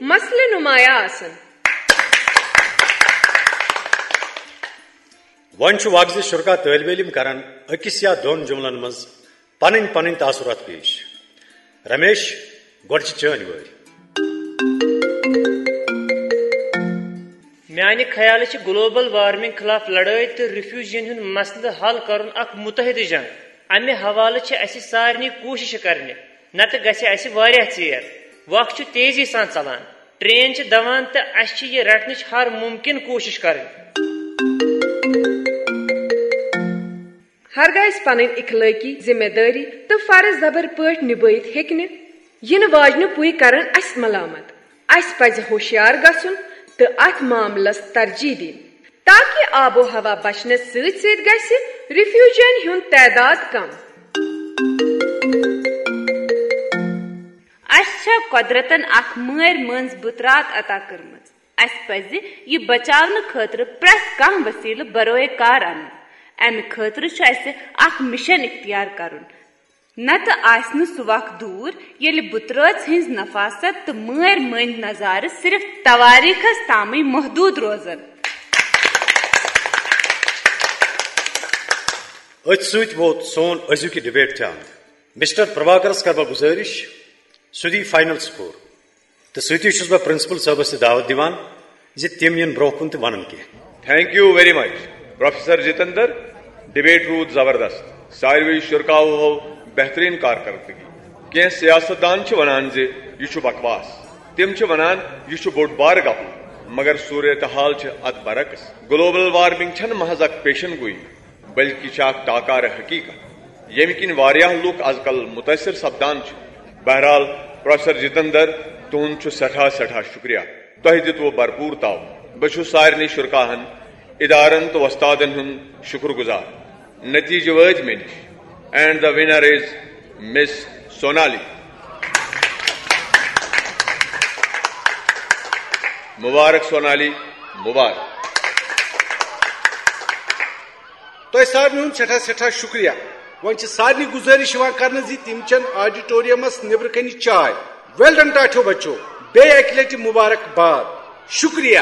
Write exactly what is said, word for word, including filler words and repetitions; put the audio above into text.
مسلہٕ نمایاں آسن۔ وۄنۍ چھُ وقت زِ شرکا طٲلبہِ علم کرن أکِس یا دۄن جملن منٛز پنٕنۍ پنٕنۍ تاثرات پیش۔ رمیش، گۄڈٕ چھِ چٲنۍ وٲرۍ۔ میانہِ خیالہٕ چھِ گلوبل وارمنگ خلاف لڑٲے تہٕ ریفیوجین ہُنٛد مسلہٕ حل کرُن اکھ متحدٕ جنگ۔ امہِ حوالہٕ چھِ اسہِ سارنٕے کوٗشش کرنہِ، نتہٕ گژھِ اسہِ واریاہ ژیر۔ وق چھُ تیزی سان ژلان، ٹرین چھِ دوان تہٕ اسہِ چھِ یہِ رٹنٕچ ہر ممکن کوٗشش کرٕنۍ۔ ہرگاہ أسۍ پنٕنۍ اخلٲقی ذمہ دٲری تہٕ فرض زبر پٲٹھۍ نبٲوِتھ ہیٚکہِ نہٕ، یِنہٕ واجنہِ پُے کرن اسہِ ملامت۔ اسہِ پزِ ہوشیار گژھُن تہٕ اتھ معاملس ترجیح دِنۍ، تاکہ آب و ہوا بچنس سۭتۍ سۭتۍ گژھِ ریفیوجین ہُنٛد تعداد کم۔ اسہِ چھےٚ قۄدرتن اکھ مٲرۍ مٔنٛزۍ بُترات عطا کٔرمٕژ۔ اسہِ پزِ یہِ بچاونہٕ خٲطرٕ پرٛٮ۪تھ کانٛہہ وسیلہٕ بروئے کار انُن۔ امہِ خٲطرٕ چھُ اسہِ اکھ مشن اختیار کرُن۔ نتہٕ آسہِ نہٕ سُہ وق دوٗر، ییٚلہِ بُترٲژ ہٕنٛز نفاست تہٕ مٲرۍ مٔنٛدۍ نظارٕ صرف توٲریٖخس تامٕے محدوٗد روزن۔ أتھۍ سۭتۍ ووت سون أزیُک یہِ ڈبیٹ تہِ انٛد۔ مسٹر پربھاکرس کرٕ بہٕ گُزٲرِش، سُہ دِیہِ فاینل سکور۔ تہٕ سۭتی چھُس بہٕ پرنسپل صٲبس تہِ دعوت دِوان زِ تِم یِن برونٛہہ کُن تہٕ ونن کینٛہہ۔ Thank you very much, Professor Jitendra. Debate روٗد زبردست۔ ساروٕے شرکاوو ہٲو بہترین کارکردگی۔ کینٛہہ سیاست دان چھِ ونان زِ یہِ چھُ بکواس۔ تِم چھِ ونان یہِ چھُ بوٚڑ بار گپہٕ، مگر صورتحال چھِ اتھ برعکس۔ گلوبل وارمنگ چھنہٕ محض اکھ پیشن گوئی، بلکہ چھِ اکھ ٹاکارٕ حقیقت، ییٚمہِ کِنۍ واریاہ لوٗکھ از کل متٲثر سپدان چھِ۔ بہرحال، پروفیسر جتندر، تُہُنٛد چھُ سٮ۪ٹھاہ، سٮ۪ٹھاہ شُکریہ۔ تۄہہِ دِتوٕ بھرپوٗر تعاوُن۔ بہٕ چھُس سارنٕے شرکاہن، ادارن تہٕ وۄستادن ہُنٛد شُکر گُزار۔ نتیجہٕ وٲتۍ مےٚ نِش۔ And the winner is Miss Sonali. مبارک سونالی، مبارک۔ تۄہہِ سارنٕے ہُنٛد سٮ۪ٹھاہ سٮ۪ٹھاہ شُکریہ۔ وۄنۍ چھِ سارنٕے گُزٲرِش یِوان کرنہٕ زِ تِم چٮ۪ن آڈیٹوریمس نیٚبرٕ کنہِ چاے۔ Well done ٹاٹھیو بچو، بیٚیہِ اکہِ لٹہِ مُبارک باد۔ شُکریہ۔